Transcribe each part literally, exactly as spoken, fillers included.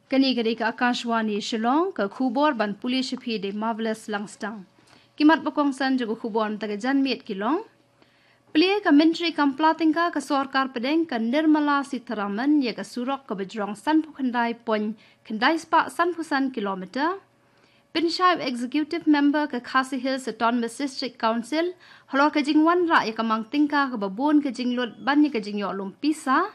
Kane ka dei ka Akashvani Shillong, ka khubor ban pule sha phi da i Marvelous Langstang. Ki mat ba kongsan jong ka khubor mynta ka janmiet ki long: Plie ka Myntri kam pla tyngka ka sorkar pdeng ka Nirmala Sitharaman ïa ka surok kaba jrong sanphew khyndai point khyndai spah sanphew san kilometer. Pynshai u Executive Member ka Khasi Hills Autonomous District Council halor ka jingwanrah ïa ka mang tyngka kaba bun ka jinglut ban ïa ka jingïoh lum pisa.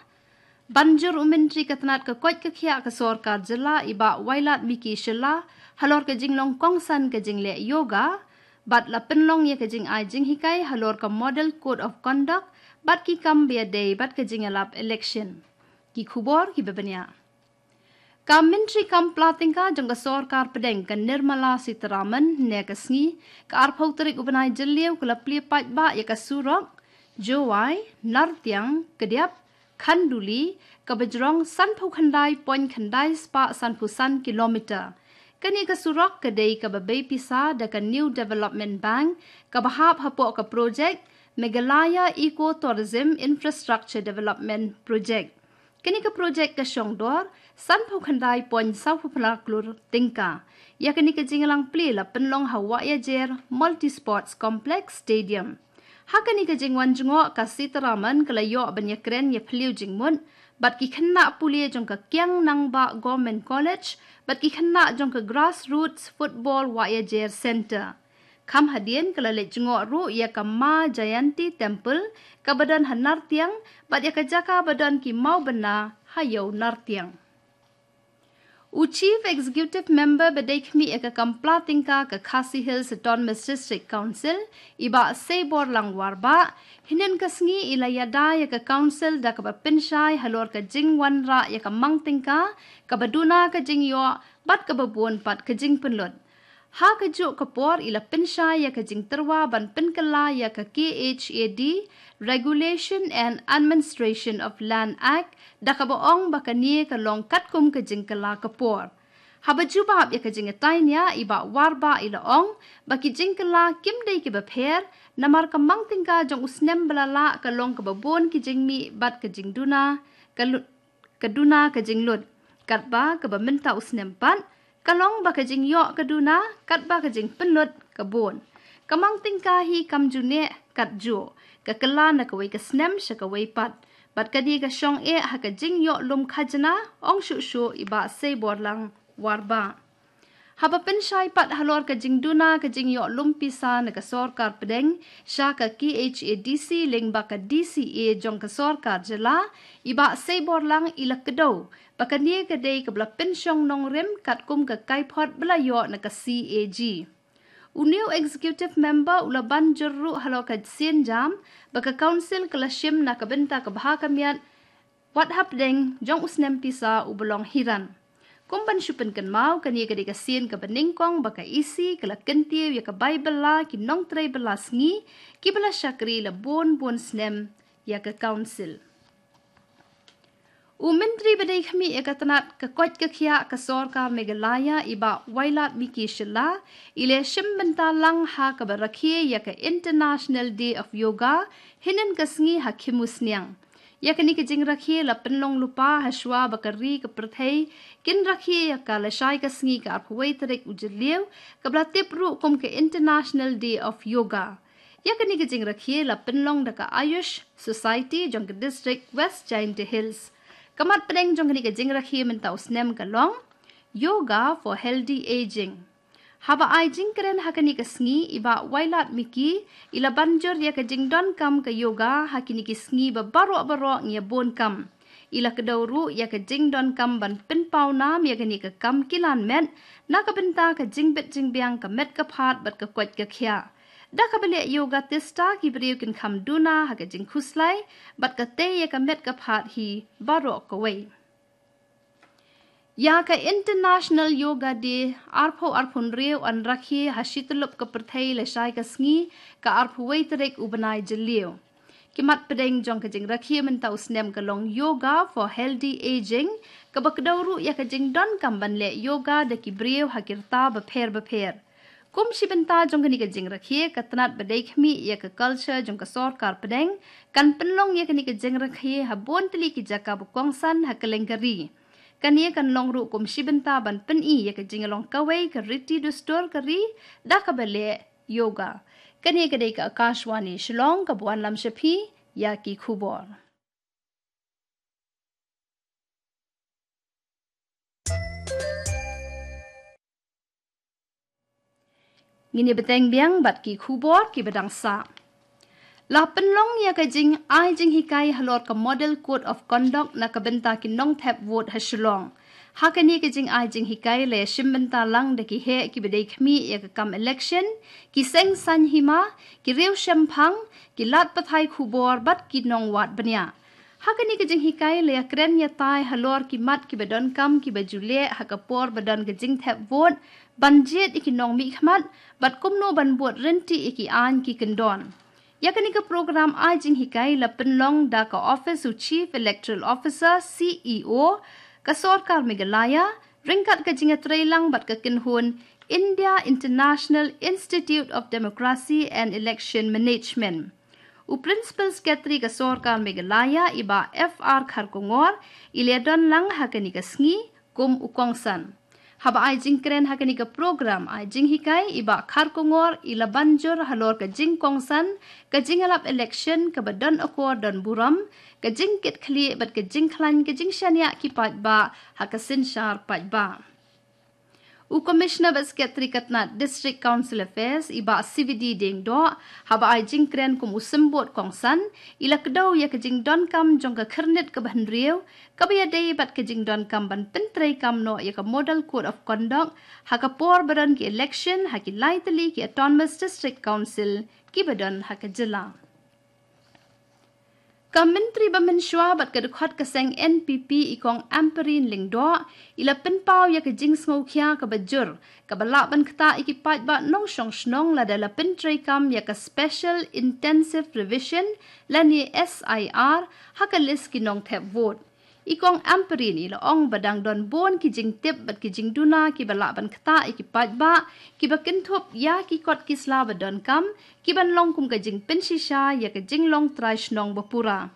Ban jur u Myntri ka tnat ka koit ka khiah ka sorkar jylla i Bah Wailadmiki Shylla halor ka jinglong kongsan ka jingleh yoga. Bad la pynlong ïa ka jingai jinghikai halor ka Model Code of Conduct bad ki kam ba ïadei bad ka jingïalap election. Ki khubor kiba bniah. Ka Myntri kam pla tyngka jong ka sorkar pdeng ka Nirmala Sitharaman hynne ka sngi, ka arphew tarik u bnai Jylliew, ka la plie paidbah ïa ka surok Jowai, Nartiang, Kdiap, Khanduli, kaba jrong sanphew khyndai point khyndai spah sanphew san kilometer. Kane ka surok ka dei kaba bei pisa da ka New Development Bank, kaba hap hapoh ka projek Meghalaya Eco Tourism Infrastructure Development Project. Kane ka projek ka shong dor sanphew khyndai point sawphew phra klur tyngka. Ïa kane ka jingïalang plie la pynlong ha Wahiajer Multi Sports Complex Stadium. Ha kane ka jingwan jngoh, ka Sitharaman ka la ïoh ban ïakren ïaphylliew jingmut bad ki khynnah pule jong ka Kiang Nangbah Government College bad ki khynnah jong ka Grassroots Football Wahiajer Centre. Kham hadien ka la leit jngoh ruh ïa ka Ma Jayanti Temple kaba don ha Nartiang bad ïa ka jaka ba don ki mawbynna ha ïew Nartiang. U Chief Executive Member ba dei khmih ïa ka kam pla tyngka ka Khasi Hills Autonomous District Council, i Bah Seiborlang Warbah, hynnin ka sngi i la ïada ïa ka council da kaba pynshai halor ka jingwanrah ïa ka mang tyngka kaba duna ka jingïoh bad kaba bun pat ka jingpynlut. Ha kajuh ka por i la pynshai ïa ka jingtyrwa ban pynkylla ïa ka K H A D Regulation and Administration of Land Act, da kaba ong ba kane ka long katkum ka jingkylla ka por. Haba jubab ïa ka jingïatainia, i Bah Warbah i la ong ba ki jingkylla kim dei kiba pher, namar ka mang tyngka jong u snem ba la lah ka long kaba bun ki jingmih bad ka jingduna ka lu-, ka duna ka jinglut. Katba kaba mynta u snem pat ka long ba ka jingïoh ka duna, katba ka jingpynlut ka bun. Ka mang tyngka hi kam ju neh kat juh, ka kylla na kawei ka snem sha kawei pat. Bad kane ka shong eh ha ka jingïoh lum khajna, ong shuh shuh i Bah Seiborlang Warbah. Haba pynshai pat halor ka jingduna ka jingïoh lum pisa na ka sorkar pdeng sha ka K H A D C lyngba ka D C A jong ka sorkar jylla, i Bah Seiborlang i la kdew ba kane ka dei kaba la pynshong nongrim katkum ka kaiphod ba la ïoh na ka C A G. U new executive member u la ban jur ruh halor ka sienjam ba ka council ka la shim na ka bynta ka bha ka miat wat hapdeng jong u snem pisa uba long hi ran. Kum ban shu pynkynmaw, kane ka dei ka sien kaba nyngkong ba ka E C ka la kyntiew ïa ka bai bylla ki nongtrei bylla sngi kiba la shakri la bun bun snem ïa ka council. U Myntri ba dei khmih ïa ka tnat ka koit ka khiah ka sorkar Meghalaya, i Bah Wailadmiki Shylla, i la shim bynta lang ha kaba rakhe ïa ka International Day of Yoga hynnin ka sngi ha Khimusniang. Ïa kane ka jingrakhe la pynlong lypa hashwa ba ka ri ka pyrthei kin rakhe ïa ka lashai ka sngi, ka arphew wei tarik u Jylliew, kaba la tip ruh kum ka International Day of Yoga. Ïa kane ka jingrakhe la pynlong da ka Ayush Society jong ka district West Jaintia Hills. Ka mat pdeng jong kane ka jingrakhe mynta u snem ka long Yoga for Healthy Aging. Haba ai jingkren ha kane ka sngi, i Bah Wailadmiki i la ban jur ïa ka jingdonkam ka yoga ha kine ki sngi ba baroh baroh ngi ïa bun kam. I la kdew ruh ïa ka jingdonkam ban pynpaw nam ïa kane ka kam kilan met na ka bynta ka jingbit jingbiang ka met ka phad bad ka koit ka khiah. Da kaba leh yoga tista, ki briew kin kham duna ha ka jingkhuslai bad ka tei ïa ka met ka phad hi baroh kawei. Ïa ka International Yoga Day arphew arphew hynriew yn rakhe ha shi tyllup ka pyrthei lashai ka sngi, ka arphew wei tarik u bnai Jylliew. Ki mat pdeng jong ka jingrakhe mynta u snem ka long Yoga for Healthy Aging, kaba kdew ruh ïa ka jingdonkam ban leh yoga da ki briew ha ki rta bapher bapher. Kum shi bynta jong kane ka jingrakhe, ka tnat ba dei khmih ïa ka culture jong ka sorkar pdeng kan pynlong ïa kane ka jingrakhe ha bun tylli ki jaka ba kongsan ha kylleng ka ri. Kane kan long ruh kum shi bynta ban pyni ïa ka jinglong kawei ka riti dustur ka ri da kaba leh yoga. Kane ka dei ka Akashvani Shillong kaba wanlam sha phi ïa ki khubor. Ngin ïa bteng biang bad ki khubor kiba dang sah. La pynlong ïa ka jingai jinghikai halor ka Model Code of Conduct na ka bynta ki nongthep vote ha Shillong. Ha kane ka jingai jinghikai la ïa shim bynta lang da ki heh kiba dei khmih ïa ka kam election, ki seng saiñ hima, ki riew shemphang, ki lad pathai khubor bad ki nongwad bniah. Ha kane ka jinghikai la ïa kren ïa tai halor ki mat kiba donkam kiba ju leh ha ka por ba don ka jingthep vote, ban jied ïa ki nongmihkhmat bad kumno ban bud ryntih ïa ki aiñ ki kyndon. Ïa kane ka program ai jinghikai la pynlong da ka Office u Chief Electoral Officer, C E O, ka Sorkar Meghalaya, ryngkat ka jingïatreilang bad ka kynhun India International Institute of Democracy and Election Management. U Principal Secretary ka Sorkar Meghalaya, i Bah F R Kharkongor, i la ïa don lang ha kane ka sngi kum u kongsan. Haba ai jingkren ha kane ka program ai jinghikai, i Bah Kharkongor i la ban jur halor ka jingkongsan ka jingïalap election kaba don akor don burom, ka jingkitkhlieh bad ka jingkhlaiñ ka jingshaniah ki paidbah ha ka synshar paidbah. U Commissioner bad Secretary ka tnad District Council Affairs, i Bah C V D Diengdoh, haba ai jingkren kum u symbud kongsan, i la kdew ïa ka jingdonkam jong ka khyrnit kaba hynriew kaba ïadei bad ka jingdonkam ban pyntreikam noh ïa ka Model Code of Conduct ha ka por ba don ki election ha ki lai tylli ki Autonomous District Council kiba don ha ka jylla. Ka Myntri ba mynshuwa bad ka dkhot ka seng N P P, i Kong Ampareen Lyngdoh, i la pynpaw ïa ka jingsngewkhia kaba jur kaba lah ban ktah ïa ki paidbah nongshong shnong lada la pyntreikam ïa ka Special Intensive Revision lane S I R ha ka list ki nongthep vote. I Kong Ampareen i la ong ba dang don bun ki jingtip bad ki jingduna kiba lah ban ktah ïa ki paidbah kiba kynthup ïa ki kot ki sla ba donkam, kiban long kum ka jingpynshisha ïa ka jinglong trai shnong ba pura.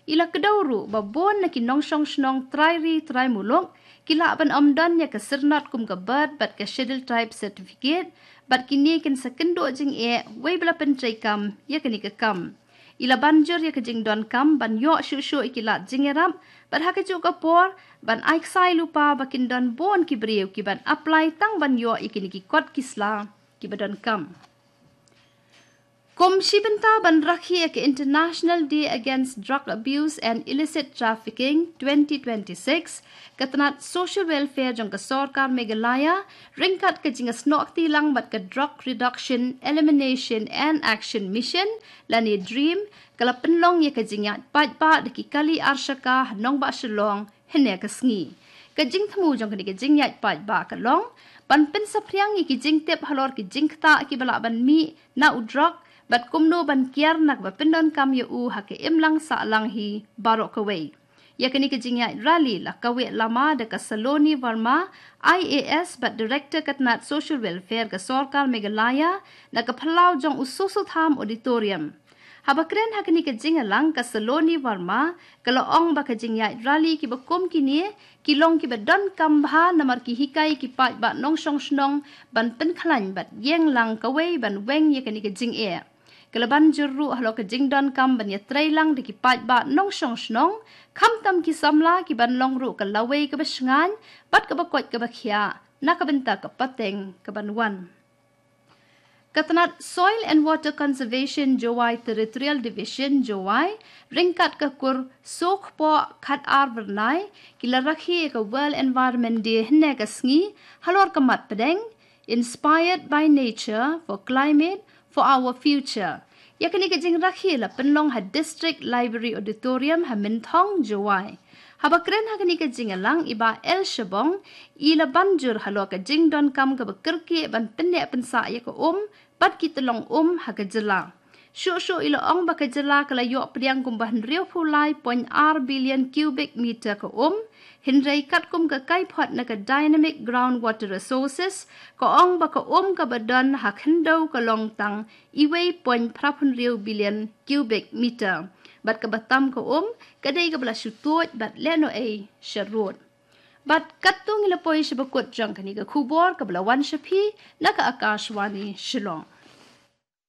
I la kdew ruh ba bun na ki nongshong shnong trai ri trai muluk ki lah ban ym don ïa ka syrnod kum ka birth bad ka Scheduled Tribe certificate, bad kine kin sa kynduh jingeh wei ba la pyntreikam ïa kane ka kam. I la ban jur ïa ka jingdonkam ban ïoh shuh shuh ïa ki lad jingïarap, bad ha kajuh ka por ban ai ksai lypa ba kin don bun ki briew kiban apply tang ban ïoh ïa kine ki kot ki sla kiba donkam. Kum shi bynta ban rakhe ïa ka International Day Against Drug Abuse and Illicit Trafficking twenty twenty-six, ka tnad Social Welfare jong ka Sorkar Meghalaya, ryngkat ka jingïasnoh kti lang bad ka Drug Reduction, Elimination and Action Mission lane DREAM, ka la pynlong ïa ka jingïaid paidbah da ki kali arshaka ha nongbah Shillong hynne ka sngi. Ka jingthmu jong kane ka jingïaid paidbah ka long ban pynsaphriang ïa ki jingtip halor ki jingktah kiba lah ban mih na u drok bad kumno ban kiar na kaba pyndonkam ïa u ha ka imlang sahlang hi baroh kawei. Ïa kane ka jingïaid rally la kaweh lama da ka Saloni Verma, I A S bad Director ka tnad Social Welfare ka Sorkar Meghalaya, na ka phyllaw jong u Soso Tham Auditorium. Haba kren ha kane ka jingïalang, ka Saloni Verma ka la ong ba ka jingïaid rally kiba kum kine ki long kiba donkam bha namar ki hikai ki paidbah nongshong shnong ban pynkhlaiñ bad ïeng lang kawei ban weng ïa kane ka jingeh. Ka la ban jur ruh halor ka jingdonkam ban ïatreilang da ki paidbah nongshong shnong, khamtam ki samla, kiban long ruh ka lawei kaba shngaiñ bad kaba koit kaba khiah na ka bynta ka pateng kaban wan. Ka tnad Soil and Water Conservation Jowai Territorial Division Jowai, ryngkat ka kur Sohkpoh Khatar Vyrnai, ki la rakhe ïa ka World Environment Day hynne ka sngi halor ka mat pdeng Inspired by Nature for Climate for Our Future. Ïa kane ka jingrakhe la pynlong ha District Library Auditorium ha Mynthong, Jowai. Haba kren ha kane ka jingïalang, i Bah L Shabong i la ban jur halor ka jingdonkam kaba kyrkieh ban pynneh pynsah ïa ka um bad ki tyllong um ha ka jylla. Shuh shuh i la ong ba ka jylla ka la ïoh pdiang kumba hynriewphew lai point ar billion cubic meter ka um, hynrei katkum ka kaiphod na ka Dynamic Groundwater Resources ka ong ba ka um kaba don ha khyndew ka long tang iwei point phra phew hynriew billion cubic meter. Bad kaba tam ka um ka dei kaba la shu tuid bad lehnohei sharud. Bad katto ngi la poi sha ba kut jong kane ka khubor kaba la wan sha phi na ka Akashvani Shillong.